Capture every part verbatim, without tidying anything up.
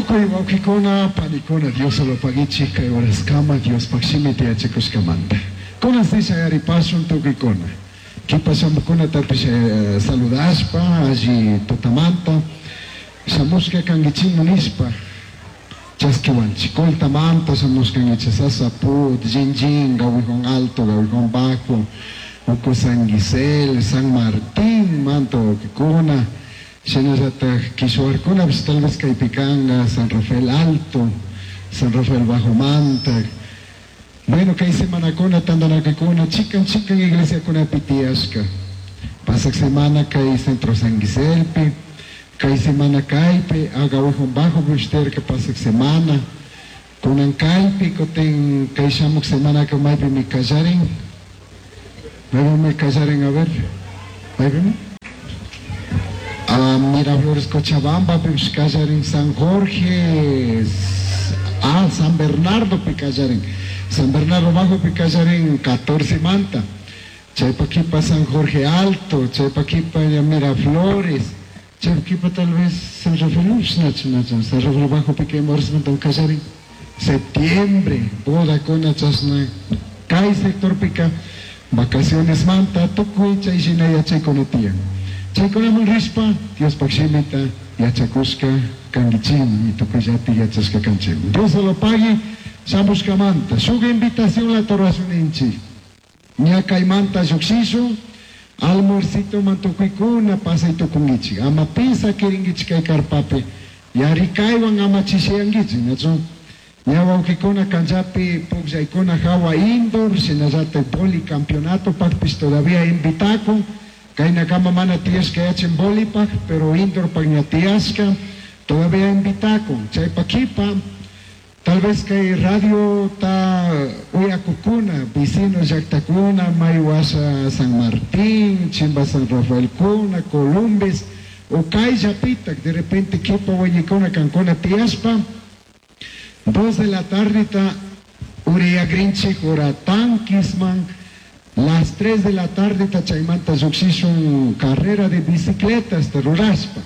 Tukuy wawqikuna, panikuna, Diosolopagichik kay horaskama Diospaq shimita yachakushkamanta. Kunan si shayaripashun tukuykuna. Kipa shamukunatapish eh, saludashpa, alli tutamanta, shamushka kankichikmi nishpa, chaskiwanchik. Coltamanta shamushkankichik, Sasaput, Jinjin, Gawijón Alto, Gawijón Bajo, Uco San Gisel, San Martín, manta wawqikuna, shinallatak Kishuarkunapish tal vez kaypi kanka, San Rafael Alto, San Rafael Bajo manta. Bueno, kay semanakuna tantanakukuna chikan chikan iglesiakunapi tiyashka. Pasak semana kay Centro San Giselpi, kay semana kaypi, Agawijón Bajo pishterka pasak semana, kunan kaypi, kutin kay shamuk semanaka maypimi kallarin, maypimi kallarin, a ver, maypimi? Ah, Miraflores, Cochabamba, pipish kallarin, San Jorge, ah, San Bernardo pi kallarin, San Bernardo Bajo pi kallarin catorce manta, chaypa kipa San Jorge Alto, chaypa kipa Miraflores, chaypa kipa tal vez San Rafael, nachu, nachu, San Rafael Bajo pi kay manta kallarin, septiembre, boda kuna chashna, kay sector pika, vacaciones manta, tukuy chay shina yachaykuna tiyan. Chaykunaman rishpa, Diospaq shimita yachakushka kankichikmi, tukuyllati yachashka kanchikmi. Dios lo pague, shamushkamanta, shuk invitación la rurashun. Ña kaymanta llukshishun, almuercito man tukuykuna pasay tukunkichik. Ama pisa kirinkichik kay karpapi, yarikaywan ama chishiyankichik, nachu? Ña wawqikuna kanchapi pukllaykuna hawa indoor, shinallatak boli campeonato pakpish todavía invitakun. Kaynakama mana tiyashka yachin bolipaj, pero indoor pak ña tiyashka, todavía invitakun. Chaypa kipa, tal vez kay radio ta uyakukuna, vecino llaktakuna, Maywasha San Martín, Chimba San Rafael kuna, Columbes, o kayllapitak, de repente kipa wañikuna kankuna tiyashpa, dos de la tarde ta uriyagrinchik ora tankisman, las tres de la tarde ta chaymanta llukshishun carrera de bicicletas ta rurashpa.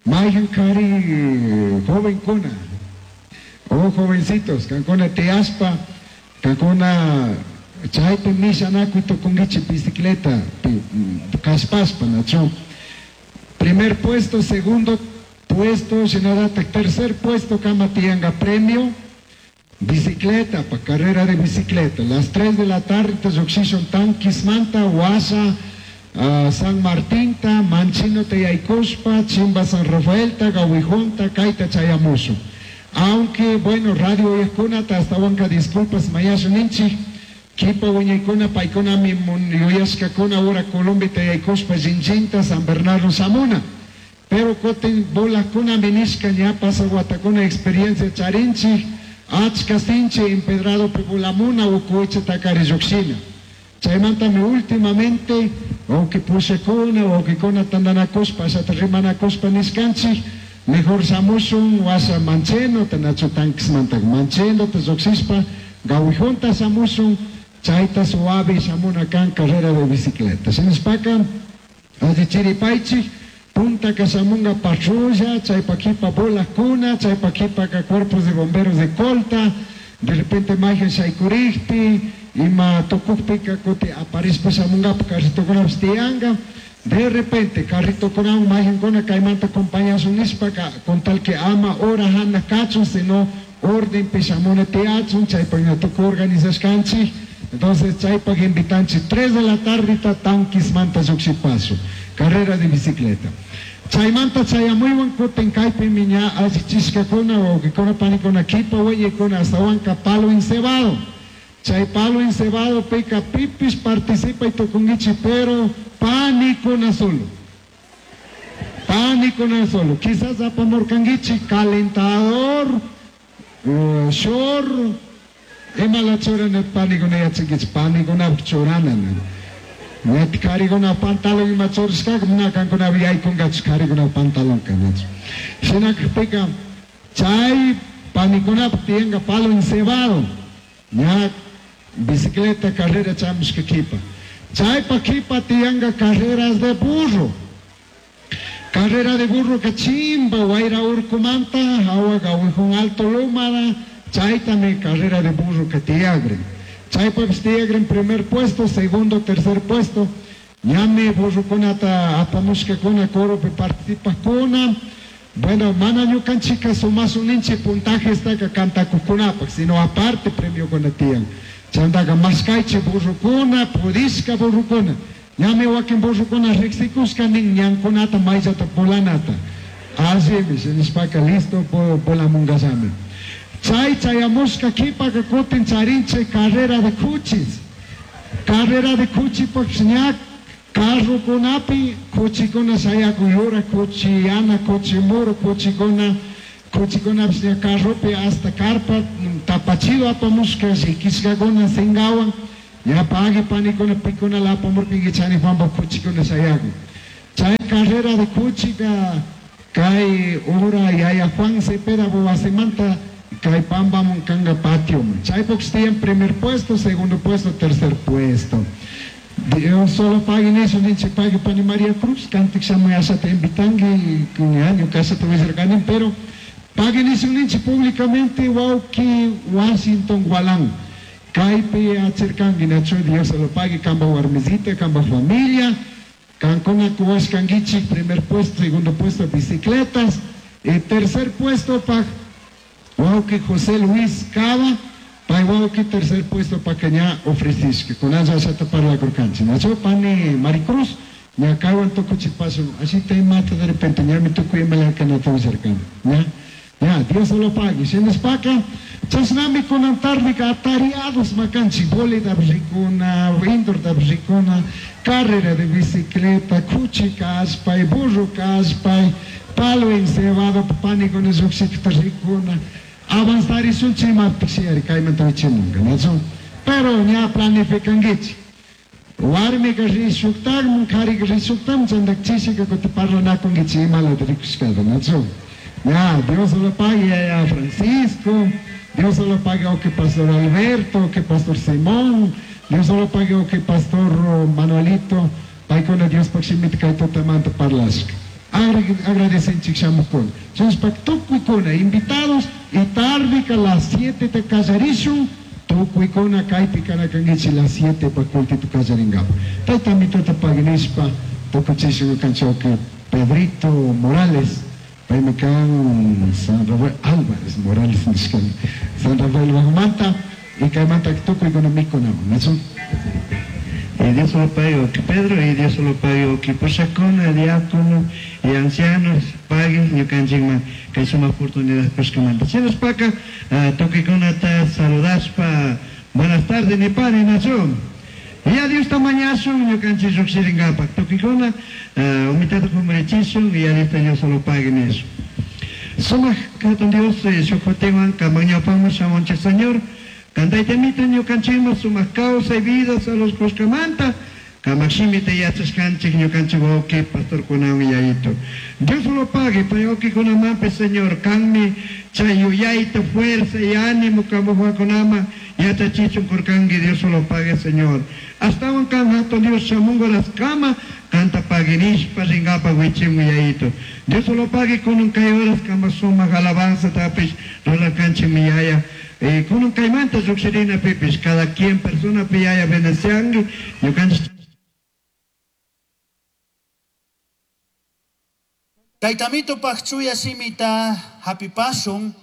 Mayhan kari jovenkuna, oh jovencitos, kankuna tiyashpa, kankuna chaypi mishanakuy tukunkichik bicicleta pi, kashpashpa, nachu. Primer puesto, segundo puesto, shinallatak tercer puesto kama tiyanka premio, bicicleta, pa carrera de bicicleta. Las tres de la tarde ta llukshishun tankismanta, Huasha, uh, San Martinta, Manchino te yaykushpa, Chimba San Rafaelta, Gawijunta, kayta chayamushun. Aunque, bueno, radio uyajkunata hasta wanka disculpas mañashun ninchik, kipa wiñaykuna paykuna mi yuyashkakuna ura Colombia te yaykushpa Jinjinta, San Bernardo shamuna. Pero kutin bolakuna minishka ña pasa watakuna experiencia charinchik, achka sinchi empedrado pibulamuna ukuicha takari llukshina. Chaymantami últimamente, wawqi pushakuna, wawqikuna tantanakushpa, ashata rimanakushpa nishkanchik, mejor shamushun washa mancheno, nachu tankismanta mancheno, ta llukshishpa, gawijunta shamushun, chayta suave shamuna kan carrera de bicicleta. Shinashpaka, alli chiripaychik, punta kashamunga patrulla, chaypa kipa bolakuna, chaypa kipaka cuerpos de bomberos de Colta, de repente mayhan shaykurikpi, ima tukukpika kuti aparishpa shamungapak carritokunapish tiyanka, de repente carritokunawan mayhankuna kaymanta acompañashun nishpaka, con tal que ama hora hana kachun, sino ordenpi shamuna tiyachun, chaypak ña tukuy organizashkanchik. Entonces chaypak invitanchik tres de la tarde tankismanta llukshipashun, carrera de bicicleta. Chaymanta chayamuywan kutin kaypimi ña allichishkakuna, wawqikuna panikuna kipa wañikuna hasta wanka palo encebado. Chay palo encebado pika pipis participa y tukunkichik, pero panikuna solo. Panikuna solo. Quizás apamurkankichik calentador, uh, short, ima la churana panikuna yachankichik, panikuna churana. Net kariguna pantalón ima churashkaka, mana kankuna yaykunkachu kariguna pantalón kanachu. Shinakpika chay panikunapaq tiyanka palo encebado, ña bicicleta carrera chamushka kipa. Chaypa kipa tiyanka carreras de burro. Carrera de burro que chimba wayra urkumanta hawa Gawijón Alto Lomada, chaytami carrera de burro que tiyagrin. Chaypapis tiyagrin primer puesto, segundo, tercer puesto. Ñami burrokunata apamushkakuna coropi participajkuna. Bueno, mana ñukanchika sumasun puntajestaka kantakuqkunapaq, sino aparte premiokuna tiyan. Chaymantaqa mashkaychik burrukuna, purishka burrukuna. Ñami wakin burrukuna riqsikushka nin ñankunata mayllata volanata. Allimi, nishpaka listo volamunkallami. Chay chayamushka qhipaka kutin charinchik carrera de kuchis. Carrera de kuchipaq ña carrokunapi kuchikuna shayakun yura kuchi, yana kuchi, muru kuchikuna, kuchikunapish ña carropi hasta carpa tapachido apamushka llikishkakuna singawan, ña pagui panikuna pikuna apamurkanki chani Juanpa kuchikuna shayakun. Chay carrera de kuchika kay ura yaya Juan Cepeda wasimanta kay pampamun kanga patioman. Chaypuk tiyan primer puesto, segundo puesto, tercer puesto. Dios solo pague eso, ninche pague pani María Cruz, kantik shamuy ashata invitangi, año casa te voy a pero paguen eso ninche públicamente wauki Washington Gualán. Kaypi acherkangi nacho Dios solo pague kamba warmisita, kamba familia, kankuna kuwashkangichik primer puesto, segundo puesto bicicletas, y tercer puesto pa wauki José Luis Cava. Pay wauki tercer puesto pa que ña ofrecishka, con aya ashata parlakurkanchik. Nacho pani Maricruz, ña kaywan tukuchik paso, así te mata de repente, ña mi tukuy imalaka na tuwisarkan. Ña, ña, Dios lo pague. Shinaspaka, chashnami kunan tardeka atareados makanchik, bolita rikuna, indoor rikuna, carrera de bicicleta, kuchi kallpay, burro kallpay, palo encebado, panikuna lluqshikta rikuna. Avanzar y sunchima pisiari kaymanta wichimunka, nachu? Pero ña planificankichik. Warmika rishuktakman, karika rishuktakman, chayta chishika kuti parlanakunkichik imalata rikushkata, nachu? Ña, Dios lo pague a Francisco, Dios lo pague a que Pastor Alberto, que Pastor Simón, Dios lo pague a que Pastor Manuelito, paykuna Dios pakshimita kay tutamanta parlashka. Agradecenchik shamukuna. Chaypak tukuykuna invitados y tarde a las siete te kallarishun, tukuykuna kaypi kanakankichik las siete pa kultitu kallaringapa. Tayta mituta paginishpa tukuchishun kanchawki Pedrito Morales, paymi kan San Rafael Álvarez Morales nishkani, San Rafael Bajomanta y kaymanta tukuykuna mikunaman, nachu? Y Dios lo pague que Pedro, y Dios lo pague que pushakuna, diácono y ancianos pague ñukanchikman kay sumaq oportunidad kushkamanta. Shinaspaka tukuykunata saludashpa buenas tardes nipani nachu. Y a Dios tamañashun ñukanchik llukshirinkapak tukuykuna umitata kumurichishun y a Dios Dios lo pague nish. Sumaq hatun Dios shuk jutiwan kaman ñawpaman shamunchik Señor. Kantaytamita ñukanchikman sumaq kawsay vida salud kushkamanta kamaqshimita yachashkanchik ñukanchik wawqi pastorkunawan yayito. Dios lo pague pay wawqikunamanpis Señor kanmi chay yuyayta fuerza y ánimo kamuqwakunaman yachachichun kurkanki Dios lo pague Señor. Astawan kan hatun Dios shamunqa kama kanta paguinishpa ringapa wichimu yayito. Dios lo pague kunan kay horas kama sumaq alabanza tapish rurarkanchik mi yaya. Eh, kunan kaymanta lluqshirina pipis cada quien persona piyaya bendecianki ñukanchik. Taytamito pakchuya shimita hapipashun,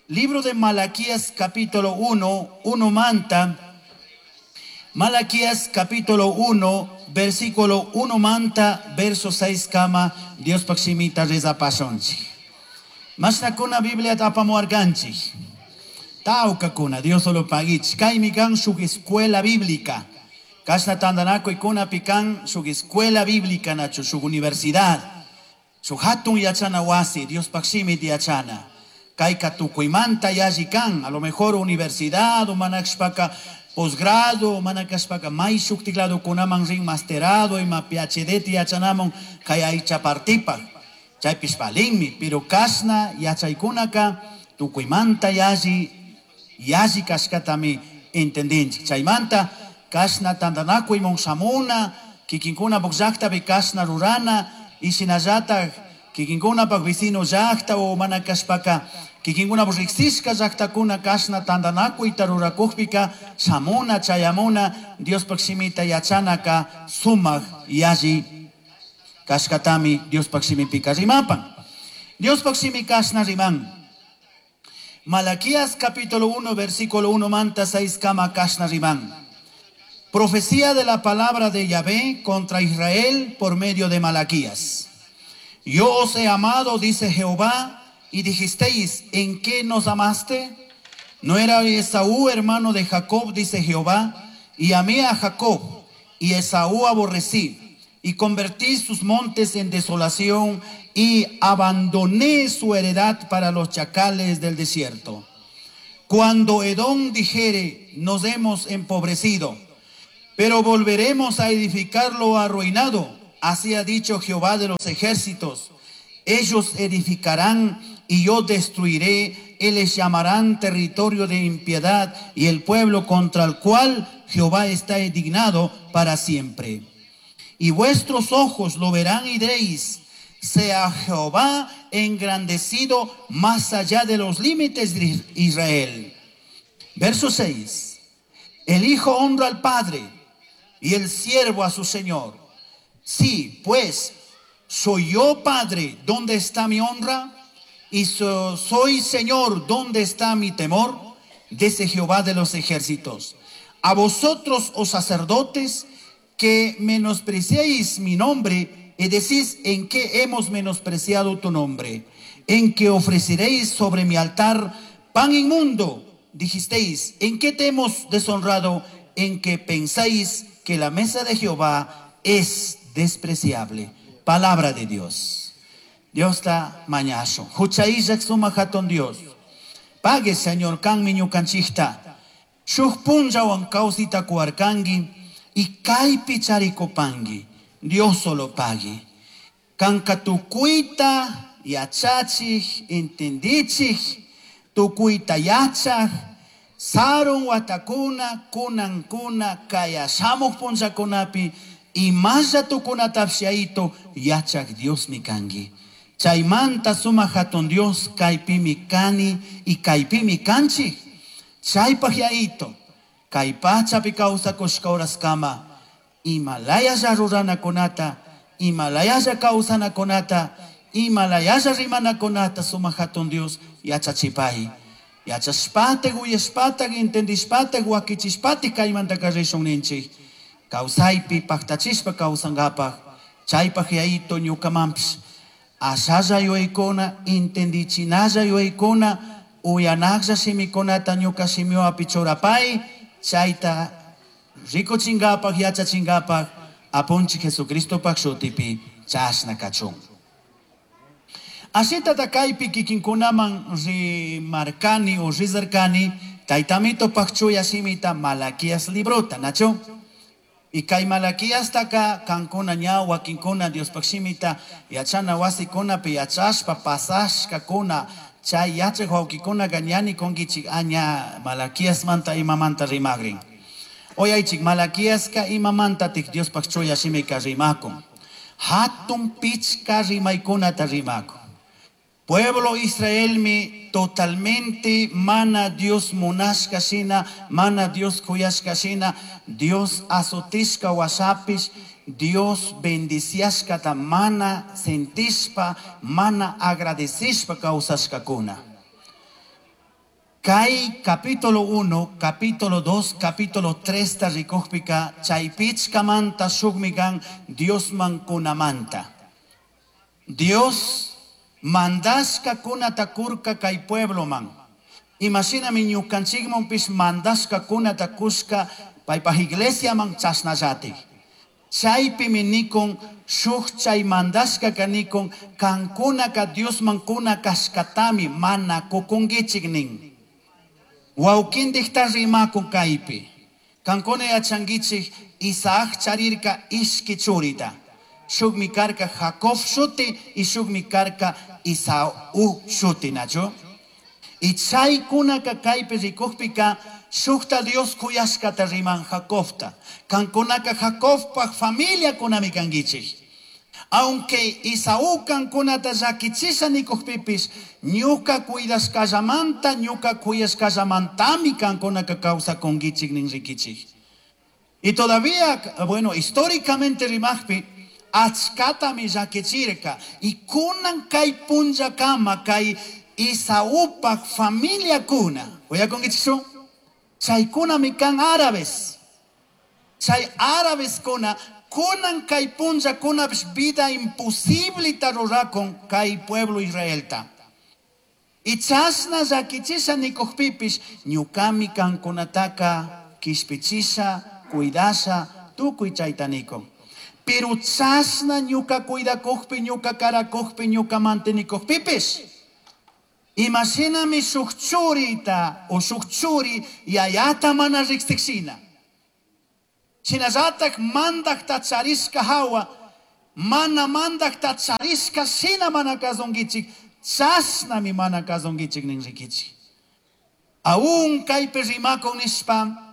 libro de Malaquías capítulo uno, uno manta, Malaquías capítulo uno, versículo uno manta, verso seis kama, Dios pakshimita rezapashunchik. Mashnakuna Biblia apamuarkanchik. Taucacuna, Dios solo paguich. Kaymi kan shuk escuela bíblica. Kashna tandanakuy kunapi kan shuk escuela bíblica nachu, shuk universidad. Shuk hatun yachana wasi, Dios pakshimit yachana. Kayka tukuymanta yalli kan, a lo mejor universidad, manakshpaka posgrado, manakashpaka may shuktiklado kunaman rin masterado, ima P H D yachanamun, kay aycha partipa. Chaypish palinmi, pero kashna yachaykunaka tukuymanta yalli, yalli kashkatami entendinchik. Chaymanta kashna tandanakuy mon shamuna, kikinkuna pukllaktapi kashna rurana, y shinallatak Kikinkunapaq vecino llaqta o mana kashpaka kikinkunapaq riqsishka llaqtakuna kashna tantanakuyta rurakukpika shamuna chayamuna Diospaq shimita yachanaka sumaq yalli kashkatami Diospaq shimipika rimapan. Diospaq shimi kashna riman. Malaquías capítulo uno versículo uno manta seis kama kashna riman. Profecía de la palabra de Yahvé contra Israel por medio de Malaquías. Yo os he amado, dice Jehová, y dijisteis, ¿en qué nos amaste? ¿No era Esaú hermano de Jacob, dice Jehová? Y amé a Jacob, y Esaú aborrecí, y convertí sus montes en desolación, y abandoné su heredad para los chacales del desierto. Cuando Edom dijere, nos hemos empobrecido, pero volveremos a edificar lo arruinado. Así ha dicho Jehová de los ejércitos. Ellos edificarán y yo destruiré. Y les llamarán territorio de impiedad y el pueblo contra el cual Jehová está indignado para siempre. Y vuestros ojos lo verán y diréis, sea Jehová engrandecido más allá de los límites de Israel. Verso seis. El hijo honra al padre y el siervo a su señor. Sí, pues, soy yo padre, ¿dónde está mi honra? Y so, soy señor, ¿dónde está mi temor? Dice Jehová de los ejércitos. A vosotros, oh sacerdotes, que menospreciéis mi nombre y decís, ¿en qué hemos menospreciado tu nombre? En que ofreceréis sobre mi altar pan inmundo. Dijisteis, ¿en qué te hemos deshonrado? En que pensáis que la mesa de Jehová es despreciable. Palabra de Dios. Dios está mañazo. Huchaillak suma hatun Dios. Pague, Señor, kan miñukanchikta. Shuj punllawan kawsita kuarkangi y kaypi charikupangi. Dios solo pague. Kanka tukuyta yachachik, entendichik, tukuyta yachaj, sarun watakuna, kunankuna, kayashamuq punllakunapi, imalla tukunatapshaito yachaj Dios mi kangi. Chaymanta suma hatun Dios kaypimi kani y kaypimi kanchik. Chaypaq yaito, kay pachapi kawsakushka horaskama, imalayalla ruranakunata, imalayalla kawsanakunata, imalayalla rimanakunata suma hatun Dios yachachipay. Yachashpataq, uyashpataq, entendishpataq, wakichishpataq kaymanta karrishun ninchik. Kawsaypi paqtachishpa kawsankapaq, chaypaq yaito ñukamanpish ashalla yuyaykuna, entendichinalla yuyaykuna, uyanaqlla shimikunata ñuka shimiwapi churapay, chayta rikuchinkapaq, yachachinkapaq, apunchik Jesucristopaq shutipi chashna kachun. Ashitata kaypi kikinkunaman rimarkani o rizarkani, taytamitopaq chuya shimita Malaquías librota, nacho? Y kay Malaquías taka kankuna ña wakinkuna Diospaq shimita yachana wasikunapi yachashpa pasashkakuna chay yachaq wawkikunaka ñani kunkichik aña Malaquíasmanta imamanta rimagrin. Oyaychik Malaquíaska imamantatik Diospaq chuya shimika rimakun. Hatun pichka rimaykunata rimakun. Pueblo Israelmi totalmente mana Dios munashka shina, mana Dios kuyashka shina, Dios azotishka washapish, Dios bendiciashkata mana sentishpa, mana agradecishpa kawsashkakuna. Kay capítulo uno, capítulo dos, capítulo tres ta rikukpika, chaypichkamanta shukmikan Dios mankunamanta. Dios mandashka kunata kurka kay pueblo man. Imagíname ñukanchikmanpis mandashka kunata kushka paypaj iglesia man chashnallati. Chaypimi nikun shuk chay mandashka kanikun kankunaka Dios mankuna kashkatami mana kukunkichik nin. Wawkindikta rimakun kaypi. Kankuna yachankichik Isaac charirka ishki churita. Shukmi karka Jacob shuti y shukmi karka Isaú shuti, nacho. Y chaykunaka kaypi rikukpika shukta Dios kuyashkata riman Jacobta. Kankunaka Jacobpaj familia kunami kankichik. Aunque Isaú kankunata llakichisha nikuqpipis, ñuka cuidashkallamanta, ñuka kuyashkallamantami kankunaka kawsakunkichik nin rikichik. Y todavía, bueno, históricamente rimaqpi, achkatami llakichirka. Y kunan kay punllakama kay Isaúpaj familiakuna, uyakunkichikchu? Chaykunami kan árabes. Chay árabeskuna kunan kay punllakunapish vida imposibleta rurakun kay pueblo Israelta. Y chashna llakichisha nikuqpipish ñukami kankunataka kishpichisha, cuidasha, tukuy chayta nikun. Pero chashna ñuka cuidakukpi, ñuka karakukpi, ñuka mantenikukpipish, imashinami shuk churita o shuk churi yayata mana riqsikshina. Shinallatak mandakta charishka hawa, mana mandakta charishka shina mana kasunkichik, chashnami mana kasunkichik nin rikichik. Aún kaypi rimakun nishpa,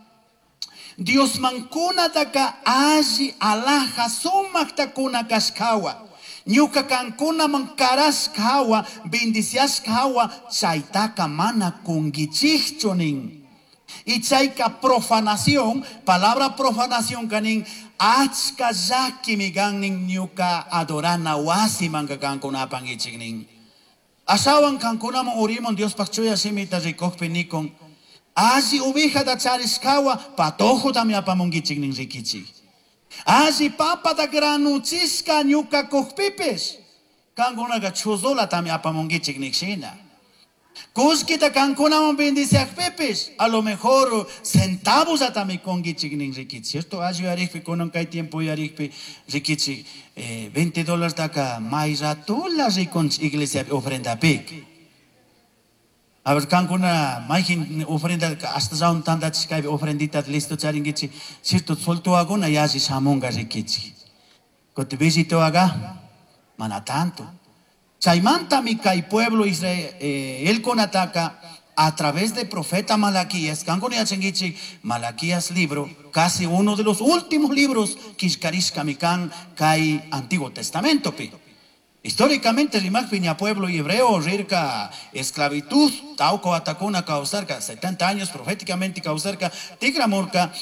Diosman kunataka alli alaja sumakta kuna kashkawa. Ñuka kankunaman karashka hawa, bendiciashka hawa, chaytaka mana kunkichikchu nin. Y chayka profanación, palabra profanación kanin, achka llakimi kan nin ñuka adorana wasimanka kankunapankichik nin. Ashawan kankunaman urimun Diospaj chuya shimita rikukpi nikun, alli ovejata charishkawa patojotami apamunkichik nin rikichik. Alli papata granuchishka ñuka kukpipish, kankunaka chuzulatami apamunkichik nikshina. Kullkita kankunaman bendiciakpipish, a lo mejor centavos atami kunkichik nin rikichik. Cierto, alli yarikpi, kunan kay tiempo yarikpi, rikichik, eh, veinte dólares taka may ratula rikunchik iglesia ofrendapik. A ver, kankuna mayjin ofrenda hasta zaun tandachishkaypi ofrendita listo charinkichik, cierto, soltuaguna yalli shamunga rikichik. Kuti visituaga, mana tanto. Chaymantami kay pueblo Israel, eh, el konataka a través de profeta Malaquías, kankuna yachankichik, Malaquías libro, casi uno de los últimos libros kishkarishkami kan kay Antiguo Testamento pi. Históricamente, rimakpi ña pueblo hebreo rirka esclavitud, tauco atakuna causarka, setenta años proféticamente causarka, tigramurka,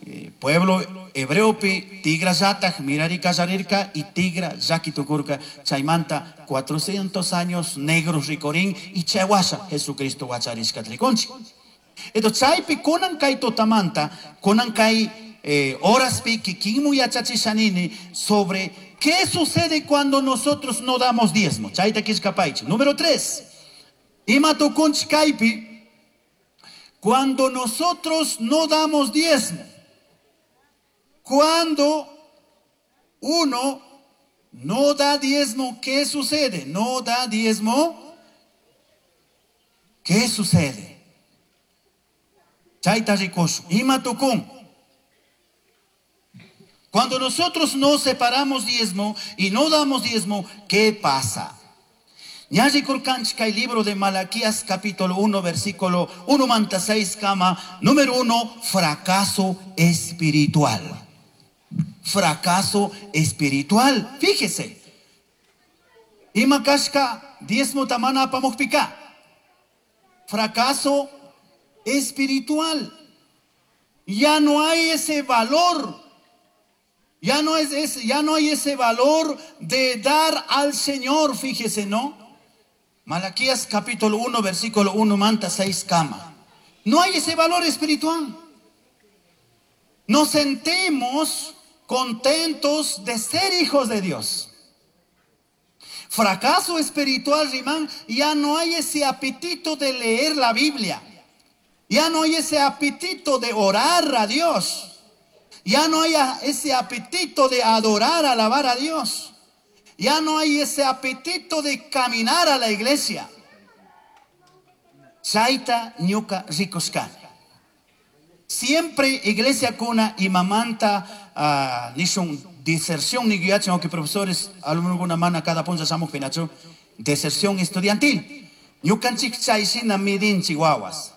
eh, pueblo hebreo pi, tigra yataj, mirari kallarirka y tigra yakitukurka, chaymanta cuatrocientos años negros ricorín y chayhuasha Jesucristo huacharishka triconchi. Entonces, chaypi kunan kay totamanta, kunan kay, eh, horas pi, kikinmu yachachishanini sobre qué sucede cuando nosotros no damos diezmo. Chayta kishkapaichi. Número tres. Ima tukunch kaypi, cuando nosotros no damos diezmo. Cuando uno no da diezmo, ¿qué sucede? No da diezmo, ¿qué sucede? Chayta rikush. Ima tukun. Cuando nosotros no separamos diezmo y no damos diezmo, ¿qué pasa? Ñalli kurkanchik kay libro de Malaquías capítulo uno versículo uno manta seis kama, número uno, fracaso espiritual. Fracaso espiritual. Fíjese. Ima kashka diezmo tamana apamukpika. Fracaso espiritual. Ya no hay ese valor. Ya no es, es, ya no hay ese valor de dar al Señor, fíjese, ¿no? Malaquías capítulo uno, versículo uno, manta seis kama. No hay ese valor espiritual. Nos sentimos contentos de ser hijos de Dios. Fracaso espiritual, Rimán, ya no hay ese apetito de leer la Biblia. Ya no hay ese apetito de orar a Dios. Ya no hay ese apetito de adorar, alabar a Dios. Ya no hay ese apetito de caminar a la iglesia. Chaita ñuka rikushkani. Siempre iglesia kuna y mamanta, ah, nishun deserción ni guiachen, aunque profesores, alumnos alguna mana cada punta shamuj pinachu, deserción estudiantil. Ñukanchik chay shina midin chihuahuas.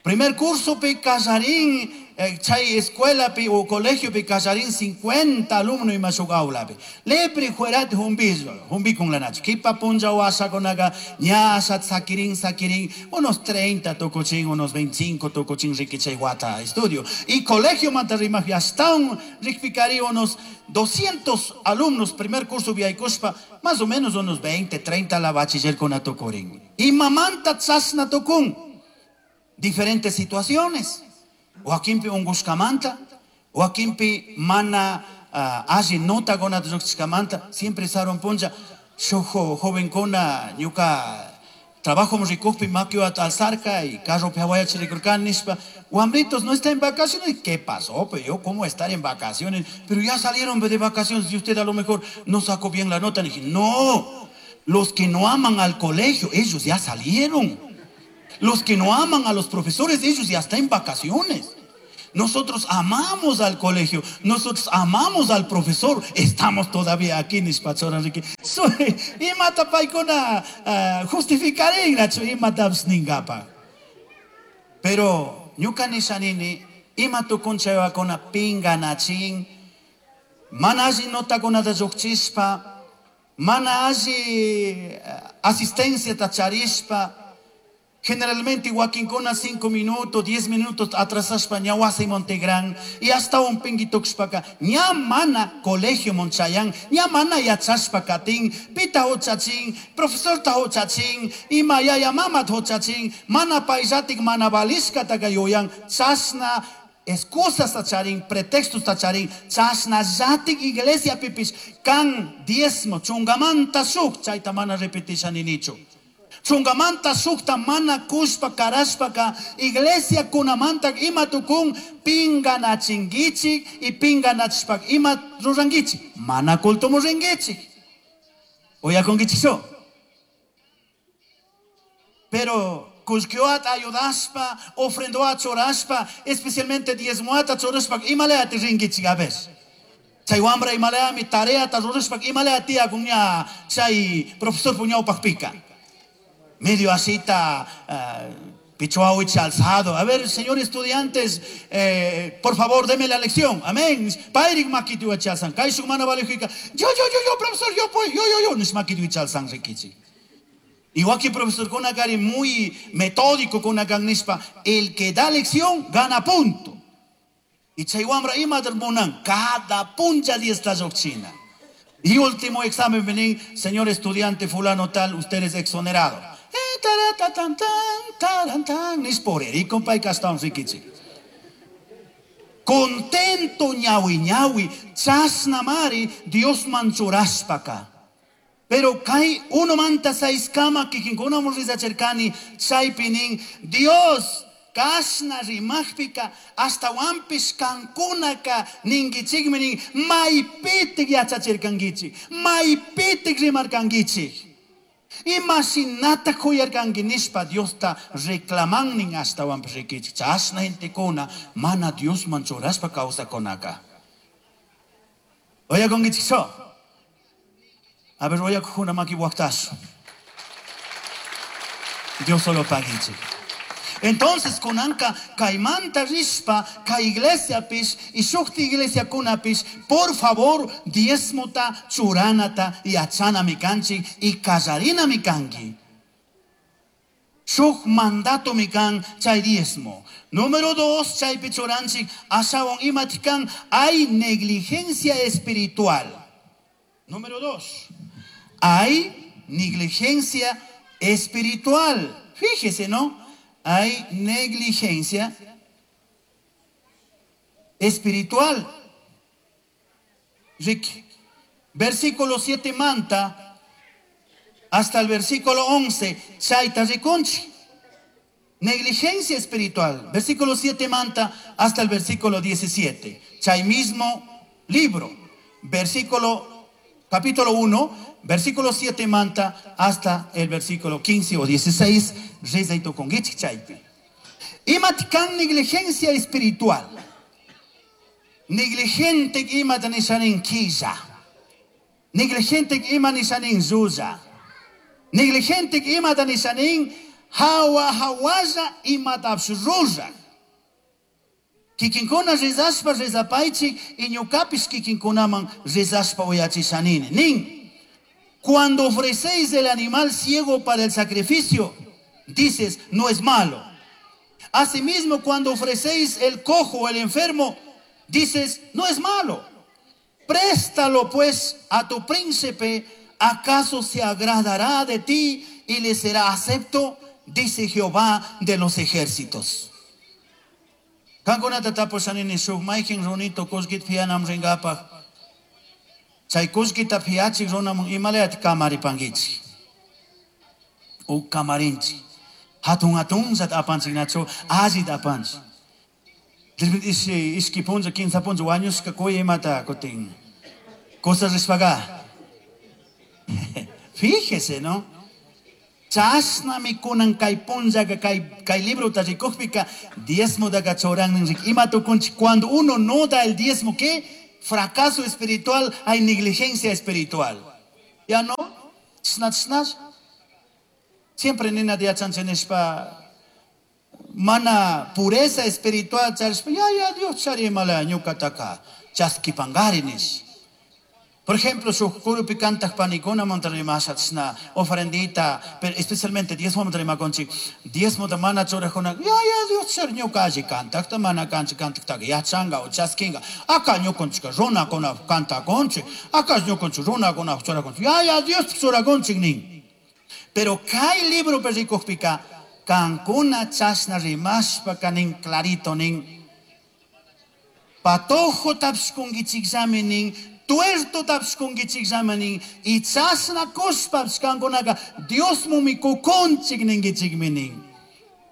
Primer curso pi kallarin eh, chay escuela pi o colegio pi kallarin cincuenta alumno ima shuk aula pi. Lepri juerati humbi, humbi con la nacho. Kipa punlla washakunaga ña asha sakirin sakirin unos treinta tukuchin, unos veinticinco tukuchin riki chay wata estudio. Y colegio manta rimaj hasta un rikpikari unos doscientos alumnos primer curso viaykushpa más o menos unos veinte, treinta la bachiller con atukurin. Y mamanta chasna tukun. Diferentes situaciones. Wakinpi ungushkamanta, wakinpi mana, uh, alli nota gona lluqshkamanta, siempre sarun punlla shuk jovenkuna ñuka trabajo rikukpi makiwata alzarka y carro hawayach rikurkani nishpa, wambritos no está en vacaciones. ¿Qué pasó? Pues yo, ¿cómo estar en vacaciones? Pero ya salieron de vacaciones y usted a lo mejor no sacó bien la nota. Le dije, no, los que no aman al colegio, ellos ya salieron. Los que no aman a los profesores, ellos ya están en vacaciones. Nosotros amamos al colegio, nosotros amamos al profesor, estamos todavía aquí, nishpachora Enrique. Imata paykuna justificarin, imata ningapa. Pero ñuka nishanini, ima tukunchayakuna pinganachin, mana alli notakunata lluqchispa, mana alli asistencia charishpa. Generalmente wakinkuna cinco minutos, diez minutos atrasashpa ña wasi Montegran y hasta un pinguituxpaka ña mana colegio monchayan, ña mana yachashpa katin, pita huchachin, profesor ta huchachin, ima yaya mama huchachin, mana paisatik mana balishka taka yuyan, chasna excusas tacharin, pretextos tacharin, chasna yatik iglesia pipis, kan diezmo, chungamanta shuk, chayta mana repetisha ninichu. Chungamanta sukta mana kushpa karashpaka iglesia kunamanta ima tukun pinganachingichik y pinganachpak ima rurangichik mana culto muringichik. Oyakongichik. Pero kushkioat ayudaspa, ofrendoat choraspa, especialmente diezmoat choraspa, ima leati ringichik a ver. Chay wambra ima lea mi tarea ta rurashpak ima lea tía kunya chay profesor puñao pakpika. Medio asita, uh, pichuawich alzado. A ver, señor estudiantes, eh, por favor, deme la lección. Amén. Pairik makituachalsan. Kaishuk mana valejika. Yo, yo, yo, yo, profesor, yo, pues, yo, yo, yo. Nishmakituachalsan rikichi. Igual que profesor Konakari, muy metódico con nispa. El que da lección, gana punto. Y chaywamra ima munan, cada puncha di esta yochina. Y último examen, vení, señor estudiante fulano tal, usted es exonerado. Contento ñawi ñawi, chasnamari, Dios manchuraspaka. Pero kai uno manta seis kama kikinkuna murriza cherkani, chaypinin, Dios kasna rimajpika, hasta wampis kankunaka ningichikminin, maypitik yachachirkangichik, maypitik rimarkangichik. Imaginata huyarkanki nishpa Diosta reclamannin hasta wampis rikichik. Chasna gentekuna mana Dios manchuraspa kawsakunaka. Oyakongichik so. A ver, oyakuna maki waktasu. Dios solo pagichik. Entonces, kunanka kaimanta rispa, ka iglesia pis, y shukti iglesia kunapis, por favor, diezmota, churanata, y achana mikanchi, y kallarina mikanki. Shuk mandato mikan, chay diezmo. Número dos, chay pichuranchi, asawon imatikan, hay negligencia espiritual. Número dos, hay negligencia espiritual. Fíjese, ¿no? Hay negligencia espiritual. Ricky. Versículo siete manta hasta el versículo once. Chaita rikunchi. Negligencia espiritual. Versículo siete manta hasta el versículo diecisiete. Chay mismo libro. Versículo capítulo uno, versículo siete manta hasta el versículo quince o dieciséis. Imatkan negligencia espiritual. Negligente imatanishanin killa. Negligente imanishanin zuza. Negligente imatanishanin Hawa hawalla imatapish ruraj. Kikinkuna rezashpa rezapaychik y ñukapish kikinkunaman rezashpa uyachishanini. Nin. Cuando ofrecéis el animal ciego para el sacrificio, dices, no es malo. Asimismo, cuando ofrecéis el cojo o el enfermo, dices, no es malo. Préstalo pues a tu príncipe, ¿acaso se agradará de ti y le será acepto? Dice Jehová de los ejércitos. Kankunata tapushanini shuk mayqin runito kullkita fianam ringapaj. Chay kullkita fiachik runaman imalayata kamaripankichik. U kamarinchik. Hatun hatunllata apanchik nachu allita apanchik. De ishi ishki punlla, kimsa punlla wañushka kuy imata kutin. Cosas rishpaga. Fíjese, ¿no? Chashnami kunan kay punllaka kay kay librota rikukpika diezmotaka churannin rik ima tukunchik cuando uno no da el diezmo, ¿qué? Fracaso espiritual, hay negligencia espiritual. ¿Ya no? Chashna chashna. Siempre nina yachanchik nishpa mana pureza espiritual charishpa ya ya Dios chari imala ñukataka chaskipangari nish. Por ejemplo, shuk kurupi kantaq panikuna rimasha chashna ofrendita, pero especialmente diezmo rimakunchik, diezmota mana churajuna, ya ya Dios chari ñuka alli kantaqta mana kanchik kantaqtaqa yachanka o chaskinka, aka ñukanchika runakuna kantakunchik, aka ñukanchik runakuna churakunchik, ya ya Dios churakunchik nin. Pero kay libro rikukpika, kankuna chashna rimashpa nin clarito nin, patojo tapishkunkichikllami nin, tuerto tapishkunkichikllami nin, y chashna kushpapish kankunaka Diosmumi kukunchik ninkichikmi nin.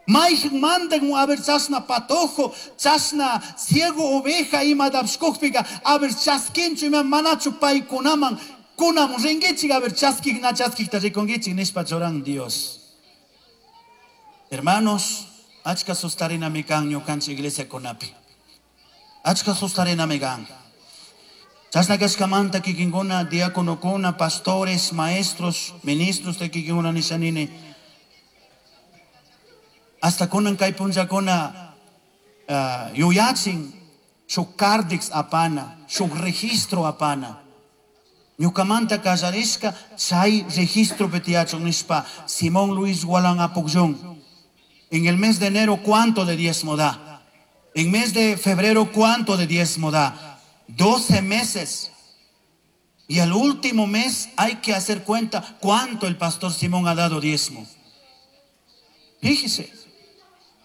Mayqin mandan a ver chashna patojo, chashna ciego oveja imatapish kukpika, a ver chaskinchu ima manachu paykunaman kunamun rinkichik, a ver chaskik na chaskikta rikunkichik nishpa churan Dios. Hermanos, achka sustarinami kan ñukanchik iglesia kunapi. Achka sustarinami kan. Chashna kashkamanta kikinkuna, diáconokuna, pastores, maestros, ministros de kikinkuna nishanini. Hasta kunan kay punllakuna uh, yuyachin shuk kardix apana, shuk registro apana. Ñukamanta kallarishka chay registro tiyachun nishpa Simón Luis Gualán Apucllón. En el mes de enero, ¿cuánto de diezmo da? En mes de febrero, ¿cuánto de diezmo da? doce meses. Y al último mes hay que hacer cuenta cuánto el pastor Simón ha dado diezmo. Fíjese.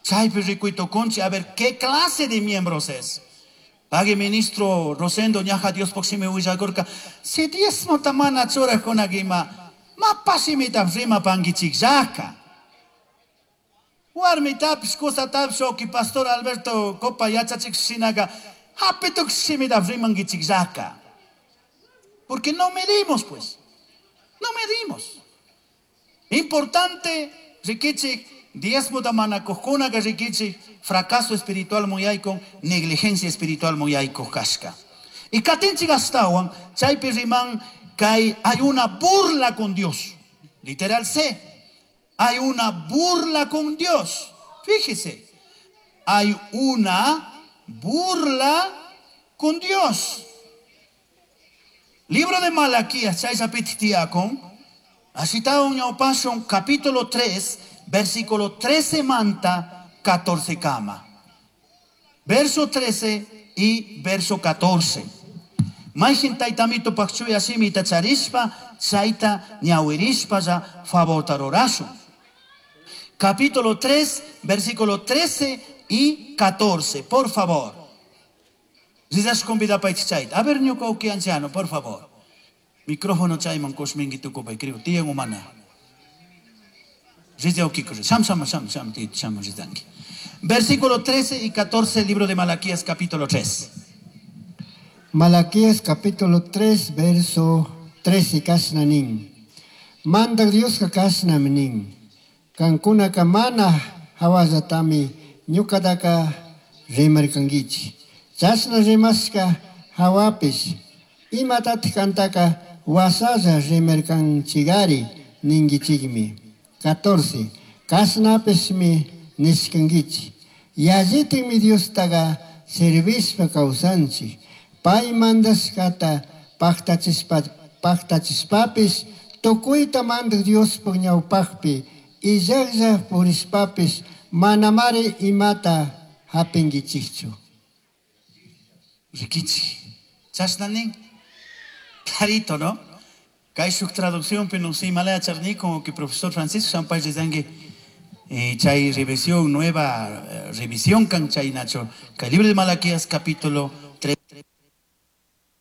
Chaypi rikuytukunchik, a ver, ¿qué clase de miembros es? Pague ministro Rosendo ñaja Dios shimi willakurka. Si diezmota mana churajkunaka ima, mapa shimita rimapankichikllaka. Warmitapish, kusatapish, oki pastor Alberto Copa yachachik shinaka, hapituk shimita rimankichikllaka. Porque no medimos, pues. No medimos. Importante, rikichik, diezmota mana kujkunaka rikichik, fracaso espiritual muyaykun, negligencia espiritual muyaykuj kashka. Y katinchik ashtawan, chaypi riman kay hay una burla con Dios. Literal C. Hay una burla con Dios. Fíjese. Hay una burla con Dios. Libro de Malaquías, chayllapiti tiyakun, ashitawan ñawpashun, capítulo tres, versículo trece manta, catorce kama. Verso trece y verso catorce. Mayqin taytamito paq chuya shimita charishpa, chayta ñawirishpa ya favorta rurashun. Capítulo tres, versículo trece y catorce, por favor. Rizas convidapaychik chayta. A ver, ñuka uki anciano, por favor. Micrófono chayman kushminki tukupay, creo. Tiyan umana. Rizia uki kurri. Sham, sham, sham, sham, ti, sham, rizanki. Versículo trece y catorce, libro de Malaquías, capítulo tres. Malaquías, capítulo tres, verso trece, kashnanin. Manda Dios ka kashnaminin. Kankunaka mana hawallatami ñukataka rimarkankichik. Chashna rimashka hawapish imatatik kantaka wasalla rimarkanchigari ninkichikmi. catorce. Cashnapishmi nishcanguichij. Yallitajmi Diostaca servishpa causanchij. Pai mandashcata pajtachishpa pajtachishpapish tucuita mandaj Diospaj ñaupajpi illajlla purishpapish manamari imata japinguichijchu. Riquichi. Chashna nin. Clarito, ¿no? Kay shuk traducción no sé, malaya charnico que profesor Francisco Sampay Rezangue eh, chay revisión nueva eh, revisión kan chay nacho. Kay libro de Malaquías capítulo